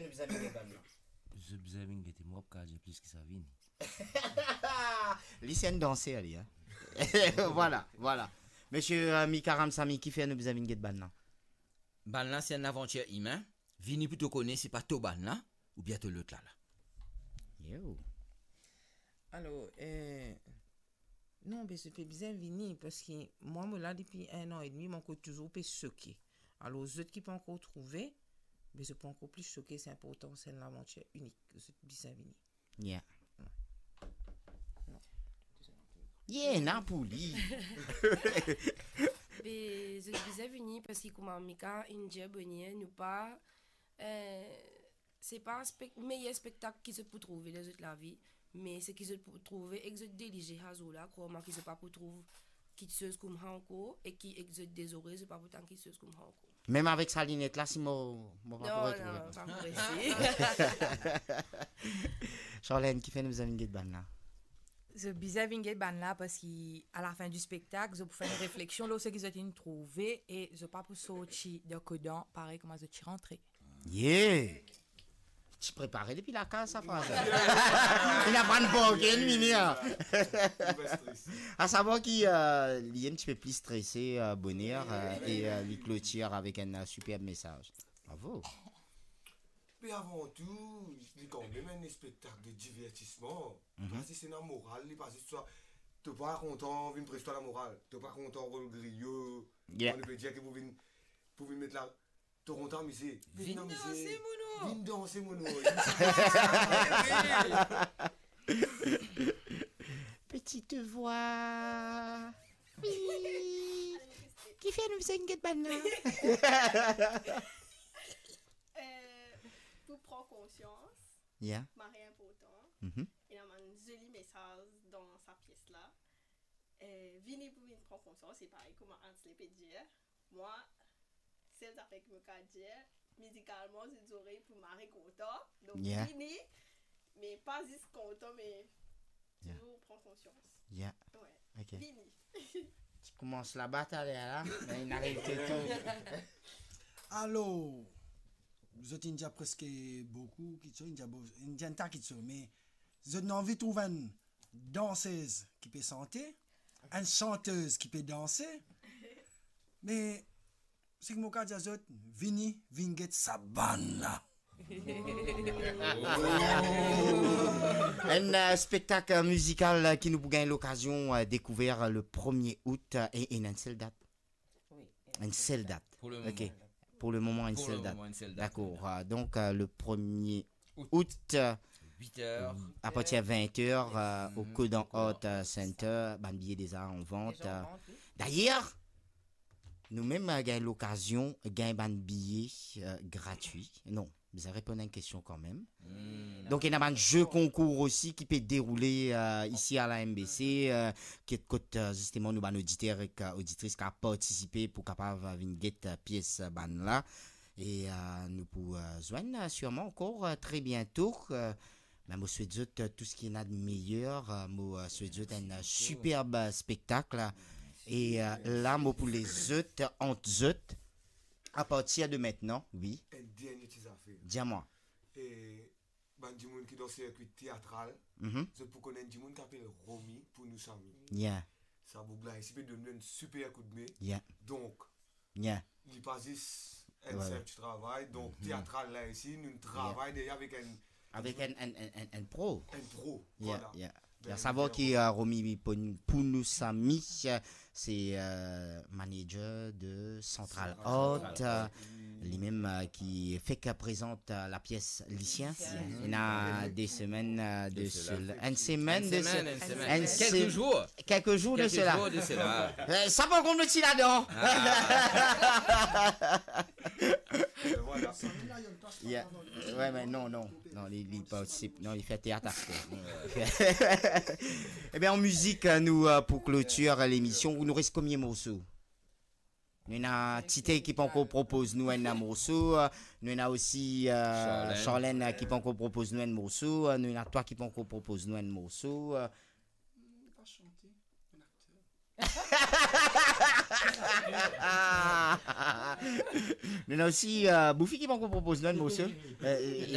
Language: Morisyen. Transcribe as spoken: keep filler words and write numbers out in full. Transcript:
Bizin vinn get bann la. Zot bizin vinn gete mwa, pou kapav dir plis ki sa vini. Li se enn danser, li, hein. Vwala, vwala. Misie, euh, Mika Ramsamy, kifer nou bizin vinn get bann la? Bann la se enn lavantir imin. Vini pou to kone si pa to bann la oubien to lot la la. Yo. Alor, euh, non, be zot pe bizin vini, parski mwa, mo la depi enn an edmi, mo ankor touzour pe soke. Alor, zot ki pa ankor trouve, be zot pou ankor plis soke, se inportan, se enn lavantir inik, zot bizin vini. Yeah. Non. Yeah, ena pou li. Be, zot bizin vini, parski kouma Mika inn dir bonn, nou pa, euh, se pa spek-, meyer spektak ki zot pou trouve dan zot lavi, me seki zot pou trouve ek zot de lizie sa zour la, krwar mwa ki zot pa pou trouv kiksoz kouma sa ankor, e ki ek zot de zorey, zot pa pou tann kiksoz kouma sa ankor. Mem avek sa linet la, si mo, mo pa pou retrouve. Non, non, pa pou resi. Charlène, kifer nou bizin vinn get bann la? Zot bizin vinn get bann la, parski a la fin di spektak, zot pou fer enn refleksion lor seki zot inn trouve, e zot pa pou sorti dan kodan parey kouma zot ti rantre. Yeah! Ti prepare depi lakaz sa fraz la. Li ena bann bargain, mini, hein. Li pa strese. A savwar ki, euh, li enn tipe pli strese, euh, boner, euh, e, euh, li klotir avek enn, euh, siperb mesaz. Bravo. Me avan tou, li kanmem enn spektak de divertisman. Mhm. Li pa zis ena moral, li pa zis sa. To pa kontan, vinn pres twa lamoral. To pa kontan, rol griyo. Yeah. Bon, nou pe dir ki pou vinn, pou vinn met la, to kontan amize. Vinn amize. Vinn danse, mono. Vinn danse, mono. Petite voix. Oui. Kifer nou bizin get bann la? Euh, pou pran konsians, yeah, mari inportan. Mhm. Ena bann zoli mesaz dan sa pies la. Euh, vini pou vinn pran konsians, se parey kouma Ansley pe dir. Mwa, sel zafer ki mo kapav dir, mizikalman, zot zorey pou mari kontan. Donk, yeah, vini, me pa zis kontan, me, yeah, touzour pran konsians. Yeah. Wi. Ok. Vini. Ti koumans laba taler la, me inn ariv tou. Alor, zot inn dir preske boukou kiksoz, inn dir bo-, inn dir enn ta kiksoz, me zot ena anvi trouv enn dansez ki pe sante, enn santez ki pe danse, me seki mo kapav dir zot, vini, vinn get sa bann la. Enn, euh, spektak, euh, mizikal, euh, ki nou pou gagn lokazion, euh, dekouver, euh, le premie out, euh, e, e ena enn sel dat. Wi. Enn sel dat. Pou le moman. Ok. Pou le moman, enn sel dat. Pou le moman, enn sel dat. Dakor. Euh, donk, euh, le premie out, euh, vit er, apartir vin er, euh, o Kodan Art, euh, Center, bann biye deza an vant. Deza an vant, wi. Dayer, nou mem, euh, gagn lokazion gagn bann biye, euh, gratwi. Non, bizin reponn enn kestion kanmem. Hmm. Donk, ena bann ze konkour osi ki pe deroule, euh, isi a la M B C, euh, ki kot, euh, zisteman nou bann oditer ek, euh, oditris kapav partisipe pou kapav, euh, vinn get, euh, pies, euh, bann la. E, euh, nou pou, euh, zwenn, euh, sirman ankor, euh, tre biento. Euh, me mo swet zot, euh, tou seki ena de meyer. Euh, mo, euh, swet zot enn, euh, siperb, euh, spektak la. E, euh, la, mo pou les zot, euh, ant zot, apartir de mintnan, wi. Enn dernie ti zafer. Dir mwa. E bann dimoun ki dan sirkwi teatral, mhm, zot pou konn enn dimoun ki apel Romy Pounousamy. Yeah. Sa boug la isi pe donn nou enn siper koudme. Yeah. Donk, yeah, li pa zis enn, vwala, sinp ti travay. Donk, mhm, teatral la isi, nou travay, yeah, deryer avek enn, avek enn, enn, enn, enn, enn pro. Enn pro, yeah, vwala. Yeah. Ben, a savwar ki, euh, Romy Poun-, Pounousamy, euh, se, euh, manager de Central Art, euh, limem, euh, ki fek prezant, euh, lapies Lisien. Lisien. Ena de semenn, euh, de sela. Enn semenn de se-, enn se-, kelke zour. Kelke zour de sela. Kelke zour de sela. Euh, sa pa kont ti ladan. Ah. Yeah. Wi, me non, non. Non, li, li partisip, non, li fer teat aster. Ebien, an mizik, euh, nou, euh, pou klotir lemision, nou res konbien morso? Nou ena Tite ki pankor propoz nou enn morso, euh, nou ena osi, euh, Charlène, Charlène, euh, ki pankor propoz nou enn morso, euh, nou ena twa ki pankor propoz nou enn morso, euh. Hmm, pa sante, enn akter. Nou ena osi, euh, Boufi ki pankor propoz nou enn morso. Euh,